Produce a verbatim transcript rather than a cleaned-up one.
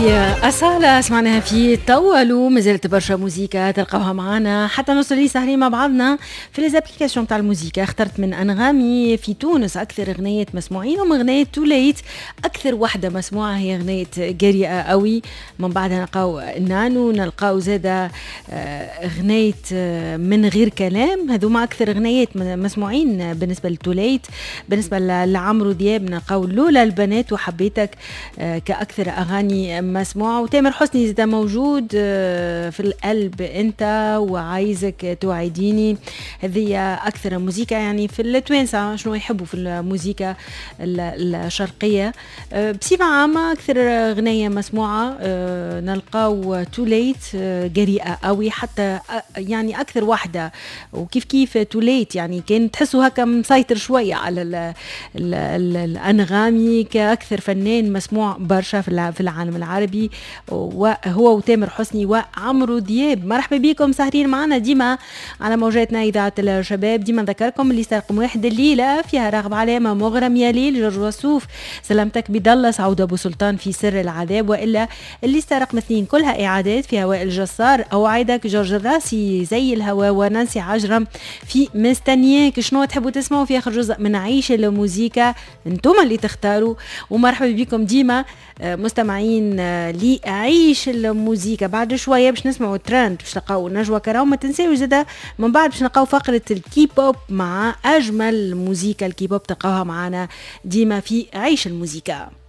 أصالة سمعناها في طولوا. مازالت برشا موزيكا تلقاوها معانا حتى نوصل لي سهرين مع بعضنا في les applications تاع الموزيكا. اخترت من انغامي في تونس اكثر اغنية مسموعين هم اغنية توليت، اكثر واحدة مسموعة هي اغنية جريئة قوي. من بعدها نلقاو نانو، نلقاو زاده آه، اغنية آه، من غير كلام. هذوما اكثر اغنيات مسموعين بالنسبة لتوليت. بالنسبة لعمرو دياب نلقاو لولا البنات وحبيتك آه، كاكثر اغاني مسموعه. وتامر حسني زاد موجود آه، في القلب انت وعايزك توعديني. هذه اكثر موزيكا يعني في التوانسة شنو يحبوا في الموزيكا الشرقية آه، بصفة عامه. اكثر اغنية مسموعة آه، نلقاو توليت جريئة قوي حتى يعني اكثر واحده. وكيف كيف توليت يعني كان تحسوا هكا مسيطر شوية على ال ال ال الانغامي كاكثر فنان مسموع برشا في العالم العربي، وهو وتامر حسني وعمرو دياب. مرحبا بكم سهرين معنا ديما على موجاتنا اذاعة الشباب. ديما نذكركم اللي رقم واحد الليلة فيها راغب علامه، مغرم يا ليل، جورج وسوف، سلامتك بدلس، عودة ابو سلطان في سر العذاب. والا الليستة رقم اثنين كلها اعادات فيها وائل جسار، اوعدك، جورج الراسي، زي الهوا، ونانسي عجرم في مستنياك. شنو تحبوا تسمعوا في اخر جزء من عيش الموزيكا؟ انتم اللي تختاروا. ومرحبا بكم ديما آه، مستمعين آه، لعيش الموزيكا. بعد شوية باش نسمعوا ترند، باش تلقاو نجوى كرام. ما تنساوش زاده من بعد باش نلقاو فقره الكيبوب مع اجمل موزيكا الكيبوب، تلقاوها معنا ديما في عيش الموزيكا.